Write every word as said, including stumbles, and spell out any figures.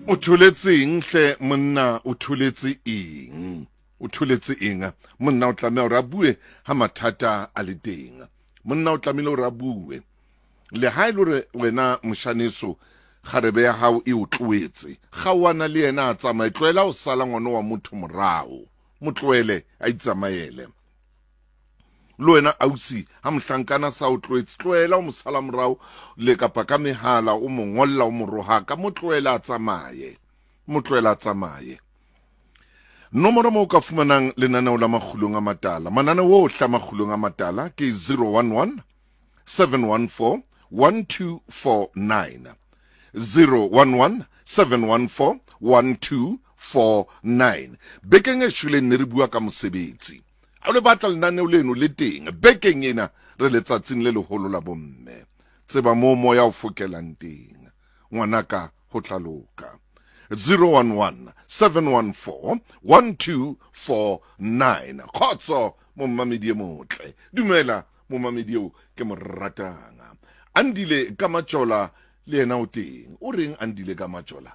O tholetse eng hle monna? O tholetse eng? O tholetse eng? Monna o tlameha hore a bue ha mathata a le teng. Monna o tlamehile hore a bue. Le ha e le hore wena moshaneso kgarebe ya hao e o tlohetse, kgaohana le yena a tsamaye. Tlohela ho sala ngwana wa motho morao, mo tlohele a itsamaele. Le wena ausi, ha mohlankana sa o tlohetse, tlohela o mo sala morao le kapa ka mehala o mo ngolla, o mo rohaka. Mo tlohele a tsamaye, mo tlohele a tsamaye. Nomoro mo o ka fumanang lenaneo la Makgulong a Matala, mananeo ohle a Makgulong a Matala, ke zero one one seven one four one two four nine, zero one one seven one four one two four nine. Bekeng e shweleng ne re bua ka mosebetsi. Ha o le batla lenaneo leno le teng bekeng ena. Re letsatsing le leholo la bomme. Tseba moo moya o fokelang teng, ngwanaka, ho tla loka. zero one one seven one four one two four nine. Kgotso momamedi e motle. Dumela momamedi eo ke mo ratang, Andile ka Majola. Le yena o teng. O reng, Andile ka Majola?